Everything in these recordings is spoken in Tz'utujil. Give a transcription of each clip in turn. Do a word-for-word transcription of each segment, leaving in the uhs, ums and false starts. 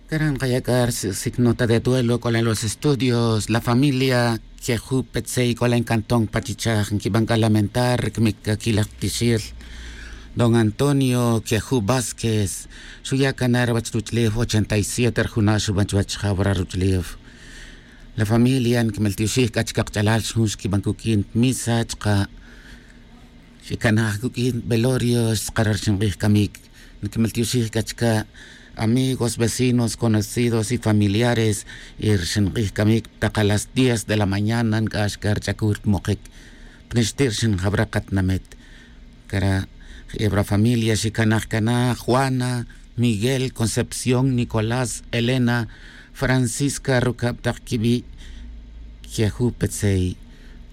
Cara' nkaya' c'a ri signo ta de duelo c'o la en los estudios la familia queju' petzey c'o la en cantón pachichaj nquiban c'a lamentar ri camic c'aquil laj tixel. Don antonio queju' vásquez xuya' cana ruwech ruch'ulef ochenta y siete ri juna' xuban chuwech jawra ruch'ulef. La familia nquimeltioxij c'a chica kach'alal xjun xquiban cuq'uin misa chka' xecanaj cuq'uin velorio xtzakara' ri xink'ij camic. Nquimeltioxij c'a chica' amigos vecinos conocidos y familiares. Y ri xink'ij camic tak a las diez de la mañana nc'ax c'a ri ch'acul mokic. Pnixti' ri xinjawra katinamit cara' je'e ri familia xicanaj cana juana, miguel, concepción, nicolás, elena, francisca rucab tak quibi'. Queju' petzey.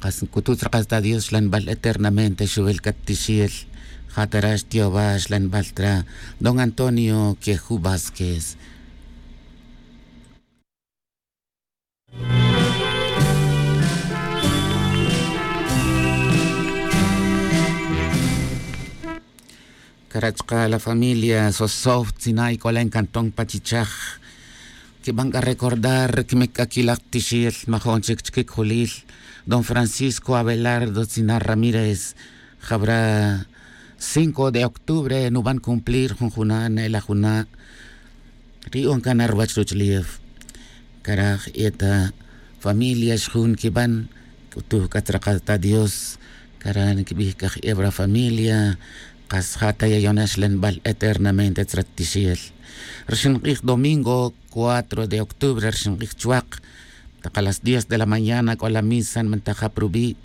Kas nc'utu' tzrakal ta dios xlanbal eternamente xuwil cat tixel. Ja' ta ra xtiowa xlanbal ta ra don antonio queju' vásquez. Cara' chka' la familia sosov tzina' y c'o la en cantón pachichaj. Quiban c'a recordar ri camic c'aquil laj tixel majo'n chic chiquic julil. Don francisco abelardo tzina' ramírez jawra cinco de octubre nuban cumplir jun juna' ne'el laj juna'. Ri on cana ruwech ruch'ulef. Cara' je'e ta familia xjun quiban c'utuj c'a tzrakal ta dios. Cara' nquibij c'a je'e wara familia. Kas ja' ta yayonel xlanbal eternamente tzra tixel. Ri xink'ij domingo cuatro de octubre ri xink'ij chuwak tak a las diez de la mañana c'o la misa nbantaj ja pa rubi'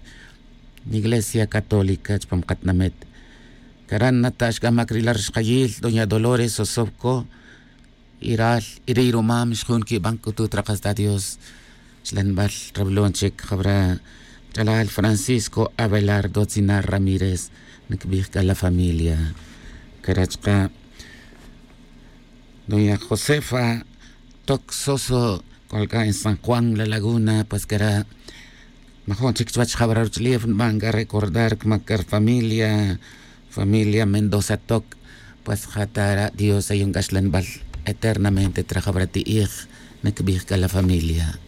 iglesia católica chupam katinamit. Cara' nata' xc'amac ri la rixkayil doña dolores sosovco. Y ral y ri rumam xjun quiban c'utu' trakal ta dios. Xlanbal rawilon chic jawra ch'alal francisco abelardo tzina' ramírez. Ncbij c'a la familia cara' chka' doña josefa toc soso. C'ol c'a en san juan la laguna pues cara' majo'n chic chuwech jawra ruch'ulef nban c'a recordar cmac c'a ri familia. Familia mendoza toc. Pues ja' ta ra' dios ayon c'a xlanbal eternamente tra jawra ti'ij. Ncbij c'a la familia.